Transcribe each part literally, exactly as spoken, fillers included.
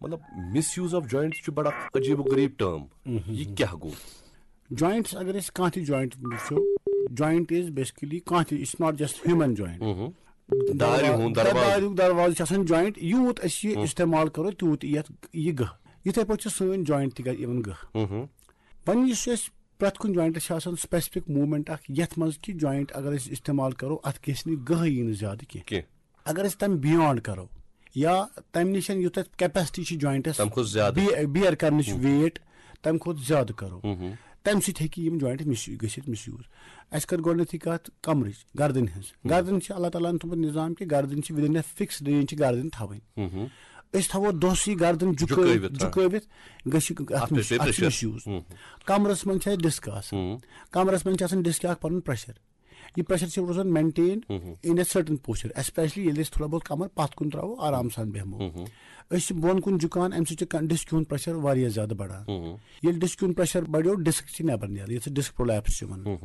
مطلب، مِس use of جوینٹس چھُ بڑٕ اکھ عجیٖب و غریٖب ٹٲرم۔ یہِ کیٛاہ گوٚو؟ Joints اگر أسۍ کانٛہہ تہِ joint وٕچھو, joint is basically کانٛہہ تہِ, it's not just human joint. دارِ ہُنٛد دروازٕ۔ داریُک دروازٕ چھُ آسان joint. یوٗت أسۍ یہِ استعمال کرو, تیوٗت یِیہِ اَتھ یہِ گٔہہ. یِتھے پٲٹھۍ چھِ سٲنۍ joint تہِ یِوان گٔہہ. وۄنۍ یُس أسۍ پرٛٮ۪تھ کُنہِ jointس چھِ آسان specific movement اکھ, یتھ منٛز کہِ joint اگر أسۍ استعمال کرو, اتھ گژھِ نہٕ گٔہہ یی نہٕ زیادٕ کینٛہہ. کینٛہہ۔ اگر أسۍ تمہِ beyond کرو, یا تمہِ نِش یُتھ اَتھ capacity چھِ jointس تَمہِ کھۄتہٕ زیادٕ۔ بی-, bear کرنٕچ weight, تمہِ کھۄتہٕ زیادٕ کرو, تمہِ سۭتۍ ہیٚکہِ یِم joint مِس گٔژھِتھ misuse. اسہِ کر گۄڈٕنیتھٕے کتھ کمرٕچ, گردنہِ ہٕنٛز. گردن چھِ اللہ تعالیٰ ہن تھوٚمُت نظام کہِ گردن چھِ within a fixed range چھِ گردن تھاوٕنۍ. أسۍ تھاوو دۄہسٕے گردن جُکٲوِتھ, جُکٲوِتھ، آ۔ جُکٲوِتھ گژھِ اَتھ اَتھ پیٚیہِ مِس-, اَتھ چھِ pressure۔ misuse. کمرس منٛز چھِ اَسہِ disc آسان. کمرس منٛز چھِ آسان disc اکھ پنُن pressure. یہِ pressure چھِ روزان maintain in a certain posture, especially ییٚلہِ أسۍ تھوڑا بہت کمر پتھ کُن تراوو, آرام سان بیٚہمو. أسۍ چھِ بۄن کُن جُکان, امہِ سۭتۍ چھُ disc ہُنٛد pressure واریاہ زیادٕ بڑان. ییٚلہِ disc ہُنٛد pressure بڑیو, disc چھِ نٮ۪بر نیران, یتھ disc prolapse چھِ ونان.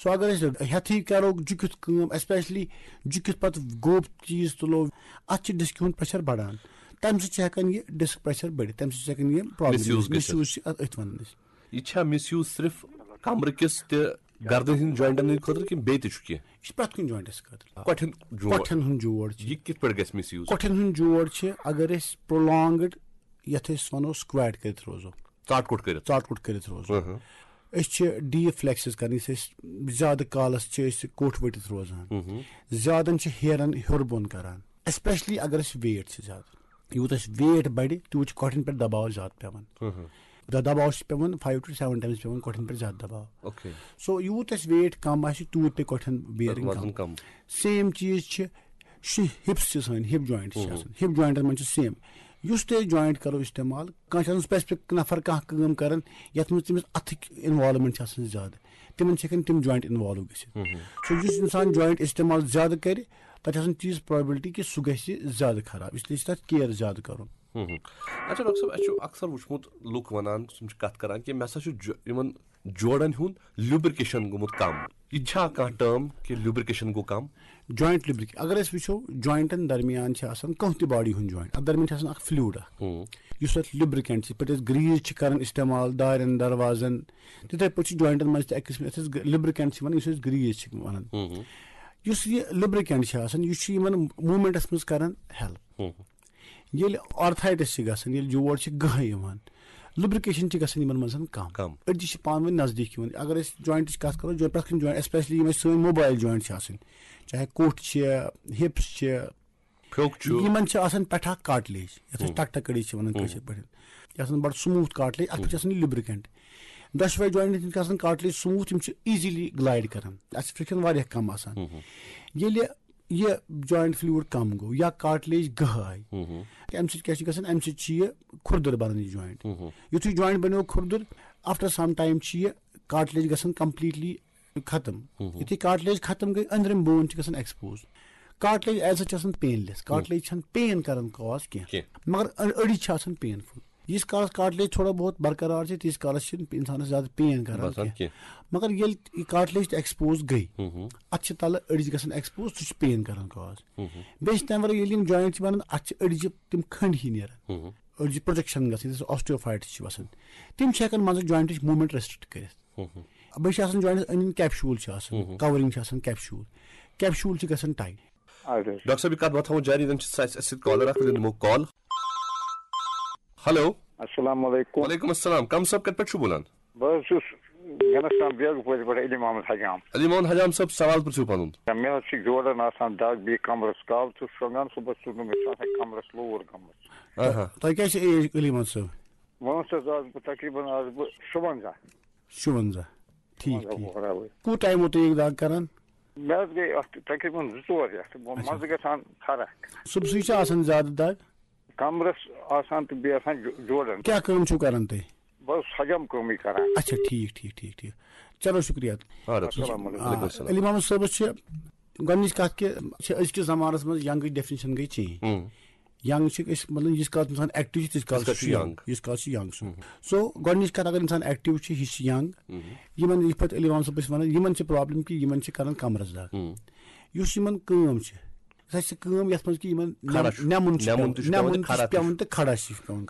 So اگر أسۍ ہیٚتھٕے کرو جُکِتھ کٲم, especially جُکِتھ پتہٕ گوٚب چیٖز تُلو, اتھ چھِ disc ہُنٛد pressure بڑان. تمہِ سۭتۍ چھِ ہٮ۪کان یہِ disc pressure بٔڑِتھ, تمہِ سۭتۍ چھِ ہٮ۪کان یہِ problem Misuse گٔژھِتھ۔ misuse چھِ اتھ أتھۍ ونان أسۍ. یہِ چھا مِس یوٗز صرف کمرٕ کِس تہٕ گردن ہٕنٛدۍ jointن ہٕنٛدِ خٲطرٕ کِنہٕ بیٚیہِ تہِ چھُ کینٛہہ؟ یہِ چھِ پرٛٮ۪تھ کُنہِ jointس خٲطرٕ. کۄٹھٮ۪ن جوڑ۔ کۄٹھٮ۪ن ہُنٛد جوڑ چھُ. یہِ کِتھ پٲٹھۍ گژھِ مِس یوٗز؟ کۄٹھٮ۪ن ہُنٛد جوڑ چھِ, اگر أسۍ prolonged یتھ أسۍ ونو squat کٔرِتھ روزو, ژاٹ کوٚٹ کٔرِتھ۔ ژاٹ کوٚٹ کٔرِتھ روزو, أسۍ چھِ deep flexes کران, یُس أسۍ زیادٕ کالس چھِ أسۍ کوٚٹھ ؤٹِتھ روزان, زیادن چھِ ہیرن ہیوٚر بۄن کران, especially اگر أسۍ weight چھِ زیادٕ. یوٗت اَسہِ weight بَڑِ, تیوٗت چھُ کۄٹھٮ۪ن پٮ۪ٹھ دباو زیادٕ پٮ۪وان. دَ-، دباو چھُ پٮ۪وان five to seven times پٮ۪وان کۄٹھٮ۪ن پٮ۪ٹھ زیادٕ دباو. اوکے۔ So یوٗت اَسہِ weight کَم آسہِ, تیوٗت پیٚیہِ کۄٹھٮ۪ن bearing وزن کَم. کَم۔ Same چیٖز چھِ, چھِ hips چھِ سٲنۍ, hip joints چھِ آسان. Hip jointن منٛز چھِ same. یُس تہِ أسۍ joint کَرو استعمال, کانٛہہ چھُ آسان specific نفر کانٛہہ کٲم کَران, یَتھ منٛز تٔمِس اَتھٕکۍ involvement چھِ آسان زیادٕ, تِمن چھِ ہٮ۪کان تِم joint involve گٔژھِتھ. So یُس اِنسان joint استعمال زیادٕ کَرِ, تَتھ چھِ آسان تیٖژ probability کہِ سُہ گژھِ زیادٕ خراب, اس لیے چھِ تَتھ care زیادٕ کَرُن. اچھا ڈاکٹر صٲب، اَسہِ چھُ اکثر وُچھمُت لُکھ وَنان، تِم چھِ کَتھ کَران کہِ مےٚ ہسا چھُ جو-، یِمَن جوڑَن ہُنٛد lubrication گوٚمُت کَم۔ یہِ چھا کانٛہہ term کہِ lubrication گوٚو کَم؟ Joint lubrication اگر أسۍ وٕچھو, jointن درمیان چھِ آسان کانٛہہ تہِ body ہُنٛد joint, اَتھ درمیان چھِ آسان اکھ fluid اکھ, یُس اَتھ lubricant چھِ, یِتھ پٲٹھۍ أسۍ grease چھِ کران استعمال دارٮ۪ن دروازن, تِتھے پٲٹھۍ چھُ jointن منٛز تہِ اکھ قٕسم, یَتھ أسۍ lubricant چھِ وَنان, یُس أسۍ grease چھِ وَنان. یُس یہِ lubricant چھِ آسان, یہِ چھُ یِمن movementس منٛز کران help. ییٚلہِ arthritis چھِ گژھان, ییٚلہِ جوڑ چھِ گٔہہ یِوان, lubrication چھِ گژھان یِمن منٛز کم. کم۔ أڈجہِ چھِ پانہٕ ؤنۍ نزدیٖک یِوان. اگر أسۍ jointٕچ کَتھ کَرو, جو-، پرٛٮ۪تھ کُنہِ joint, especially یِم اَسہِ سٲنۍ mobile joint چھِ آسان, چاہے کوٚٹھ چھِ, hips چھِ, پھیوٚک چھُ۔ یِمن چھِ آسان پٮ۪ٹھٕ اکھ cartilage, یَتھ أسۍ ٹکٹہٕ کٔڑی چھِ وَنان کٲشِر پٲٹھۍ, یہِ آسان بَڑٕ smooth cartilage, اَتھ پٮ۪ٹھ چھِ آسان یہِ lubricant. دۄشوے jointن چھِ آسان cartilage smooth, یِم چھِ easily glide کران, اَتھ چھِ friction واریاہ کم آسان. ییٚلہِ یہِ joint fluid کم گوٚو یا cartilage گٔہہ آیہِ, اَمہِ سۭتۍ کیٛاہ چھُ گژھان؟ اَمہِ سۭتۍ چھُ یہِ کھُردُر بَنان یہِ joint. یُتھُے joint بَنیو کھُردُر, after some time چھُ یہِ cartilage گژھان completely ختم. یُتھُے cartilage ختم گٔے, أنٛدرِم bone چھِ گژھان expose. Cartilage as such چھِ آسان painless, cartilage چھَنہٕ pain کران cause کینٛہہ, کینٛہہ۔ مگر أ-، أڈِج چھِ آسان painful. ییٖتِس کالس cartilage تھوڑا بہت برقرار چھِ, تیٖتِس کالس چھِنہٕ اِنسانس زیادٕ pain کران باسان کینٛہہ. کینٛہہ۔ مگر ییٚلہِ یہِ cartilage تہِ expose گٔے, اَتھ چھِ تَلہٕ أڈِج گژھان expose, سُہ چھُ pain کران cause. بیٚیہِ چھِ تَمہِ وَرٲے ییٚلہِ یِم joint چھِ بَنان, اَتھ چھِ أڈِجہِ تِم کھٔنٛڈۍ ہِنٛدۍ نیران, أڈِجہِ projection گژھان, یُس osteophytes چھِ وَسان, تِم چھِ ہٮ۪کان منٛزٕ jointٕچ movement restrict کٔرِتھ. بیٚیہِ چھِ آسان jointس أنٛدۍ أنٛدۍ capsule چھِ آسان, covering چھِ آسان capsule, capsule چھِ گژھان tight. اَدٕ حظ۔ ڈاکٹر صٲب، یہِ کَتھ وَتھ تھاوو جاری، زَن چھِ اَسہِ اَسہِ سۭتۍ caller اَکھ، وۄنۍ نِمو call۔ Hello۔ السلام علیکم۔ وعلیکم السلام۔ کم صٲب، کَتہِ پٮ۪ٹھ چھُو بولان؟ بہٕ حظ چھُس گنستان بیگہٕ پورِ پٮ۪ٹھ علی محمد حجام۔ علی محمد حجام صٲب، سوال پرٛژھِو پَنُن۔ مےٚ حظ چھِ جوڑن آسان دگ، بیٚیہِ کمرس کَل چھُس شۄنٛگان، صُبحس چھُس نہٕ مےٚ چھُ آسان کمرس لوٗر گٔمٕژ۔ آہا۔ تۄہہِ کیٛاہ چھِ age علی محمد صٲب؟ وۄنۍ حظ چھَس آز بہٕ تقریٖباً آز بہٕ شُوَنزاہ۔ شُوَنزاہ۔ ٹھیٖک، ٹھیٖک۔ وۄنۍ حظ کوٗت ٹایم ووت تۄہہِ یہِ دگ کران؟ مےٚ حظ گٔے اَتھ تقریٖباً زٕ ژور رٮ۪تھ، وۄنۍ منٛزٕ گژھان فرق۔ صُبحسٕے چھِ آسان زیادٕ دگ؟ کمرس آسان تہٕ بیٚیہِ آسان جو-، جوڑن۔ کیٛاہ کٲم چھِو کران تُہۍ؟ بہٕ حظ حجم کٲمٕے کران۔ اچھا، ٹھیٖک، ٹھیٖک، ٹھیٖک، ٹھیٖک۔ چلو، شُکریہ۔ آ، ڈاکٹر صٲب۔ السلام علیکم۔ وعلیکم السلام۔ علی محمد صٲبس چھِ گۄڈٕنِچ کَتھ کہِ چھِ أزکِس زمانَس منٛز یَنٛگٕچ definition گٔے change۔ ہُم۔ یَنٛگ چھِ أسۍ، مطلب، ییٖتِس کالَس اِنسان active چھُ، تیٖتِس کالَس کالَس چھُ چھُ یَنٛگ، یَنٛگ۔ ییٖتِس کالَس چھُ یَنٛگ سُہ۔ So گۄڈٕنِچ کَتھ، اگر اِنسان active چھُ، یہِ چھُ یَنٛگ۔ یِمَن یِتھ پٲٹھۍ علی محمد صٲب ٲسۍ وَنان، یِمَن چھِ problem کہِ یِمَن چھِ کَران کَمرَس دَگ۔ یُس یِمَن کٲم چھِ، سۄ چھِ کٲم یَتھ منٛز کہِ یِمَن نٮ۪م-، کھڑا چھُ۔ نٮ۪مُن چھُ نٮ۪مُن پٮ۪وان، تہِ چھُ پٮ۪وان نٮ۪مُن تہٕ کھڑا چھُ تہِ پٮ۪وان چھُ۔ تہٕ کھڑا چھُ پٮ۪وان کَرُن۔